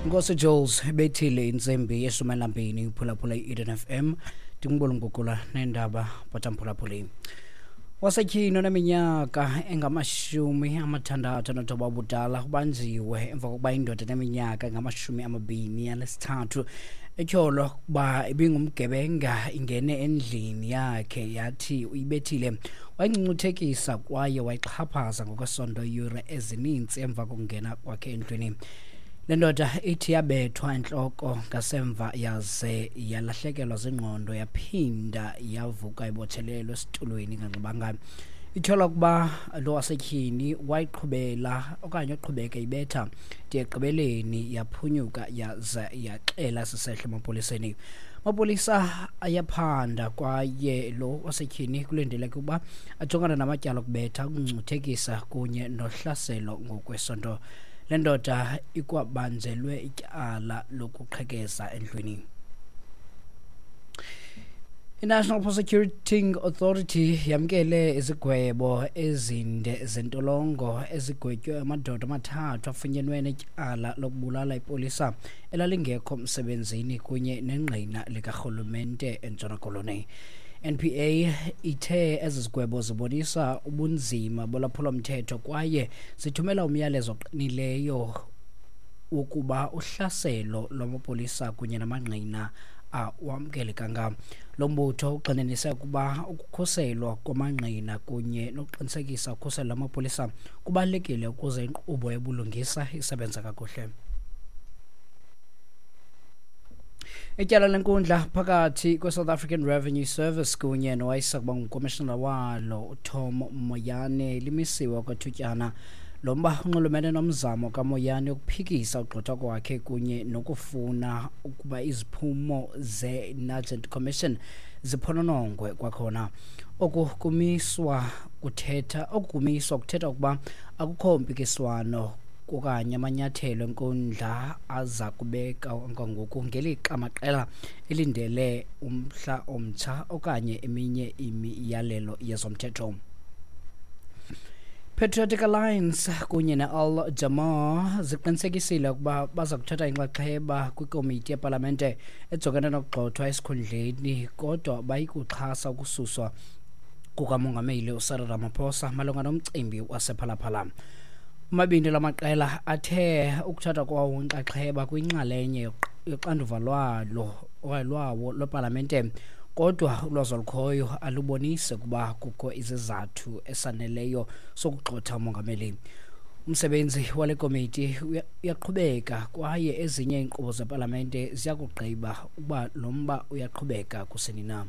Nkosi Jules bethile intsimbi yeshumi elinambini uphulaphula i-Eden FM ndingubona ngugula neendaba bhatamphulaphuli. Wasetyhini oneminyaka enga-69 ubudala ubanjiwe emva kokuba indoda eneminyaka engama-23 etyholwa ukuba ibingumgebenga ingene endlini yakhe yathi uyibethile wayingcungcuthekisa kwaye wayixhaphaza ngokwesondo iiyure ezininzi emva kokungena kwakhe endlwini. Le ndoda ithi yabethwa entloko ngasemva yaze yalahlekelwa zingqondo yaphinda yavuka ibotshelelwe esitulweni inganxibanga. Ityholwa ukuba lo wasetyhini wayiqhubela okanye waqhubeka ibetha de ekugqibeleni yaphunyuka yaze yaxela sisehlo emapoliseni. Amapolisa ayaphanda kwaye lo wasetyhini kulindeleke ukuba ajongane namatyala okubetha, ukungcuthekisa kunye nohlaselo ngokwesondo. Le ndoda ikwabanjelwe ityala lokuqhekeza endlwini. I-National Prosecuting Authority yamkele izigwebo ezinde zentolongo ezigwetywe amadoda amathathu afunyenwe netyala lokubulala ipolisa elalingekho msebenzini kunye nengqina likarhulumente eNtshona Koloni. NPA ithe ezi zigwebo zibonisa ubunzima bolwaphulomthetho kwaye zithumela umyalezo oqinileyo wokuba uhlaselo lwamapolisa kunye namangqina awamkelekanga. Lo mbutho ugxininise ukuba ukukhuselwa kwamangqina kunye nokuqinisekisa ukhuselo lwamapolisa kubalulekile ukuze inkqubo yobulungisa isebenze kakuhle. Ityala lenkundla phakathi kwe-South African Revenue Service kunye nowayesakuba ngukomishinala walo uTom Moyane limisiwe okwethutyana. Lo mba unxulumene nomzamo kaMoyane yokuphikisa ugxothwa kwakhe kunye nokufuna ukuba iziphumo ze-Nugent Commission ziphononongwe kwakhona. Oku kumiswa kuthetha ukuba akukho mpikiswano okanye amanyathelo enkundla aza kubeka kwangoku ngelixa amaqela elindele umhla omtsha okanye eminye imiyalelo yezomthetho. Patriotic Alliance kunye ne-Al Jamaa ziqinisekisile ukuba baza kuthatha inxaxheba kwikomiti yepalamente ejongene nokugxothwa esikhundleni kodwa bayikuxhasa ukususwa kukamongameli uCyril Ramaphosa malunga nomcimbi wasePhalaphala. Omabini la maqela athe ukuthatha kwawo inxaxheba kwinxalenye yoxanduva lwalo okanye lwawo lwepalamente kodwa ulwazi olukhoyo alubonisi ukuba kukho izizathu esaneleyo sokugxotha umongameli. Umsebenzi wale komiti uyaqhubeka kwaye ezinye iinkqubo zepalamente ziya kugqiba ukuba lo mba uyaqhubeka kusini na.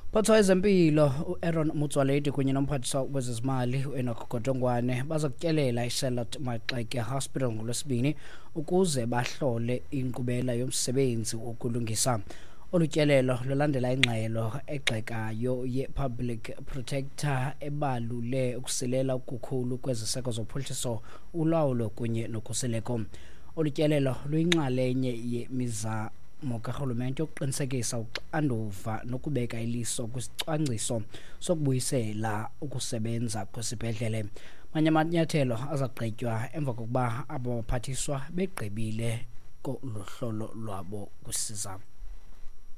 Mphathiswa wezempilo uAaron Motsoaledi kunye nomphathiswa wezezimali uEnoch Godongwane baza kutyelela iCharlotte Maxeke Hospital ngoLwesibini ukuze bahlole inkqubela yomsebenzi wokulungisa. Olu tyelelo lulandela ingxelo egxekayo ye-Public Protector ebalule ukusilela okukhulu kweziseko zophuhliso, ulawulo kunye nokhuseleko. Olu tyelelo luyinxalenye yemizamo karhulumente yokuqinisekisa uxanduva nokubeka iliso kwisicwangciso sokubuyisela ukusebenza kwesibhedlele. Manye amanyathelo aza kugqitywa emva kokuba abo baphathiswa begqibile kolu hlolo lwabo kwisiza.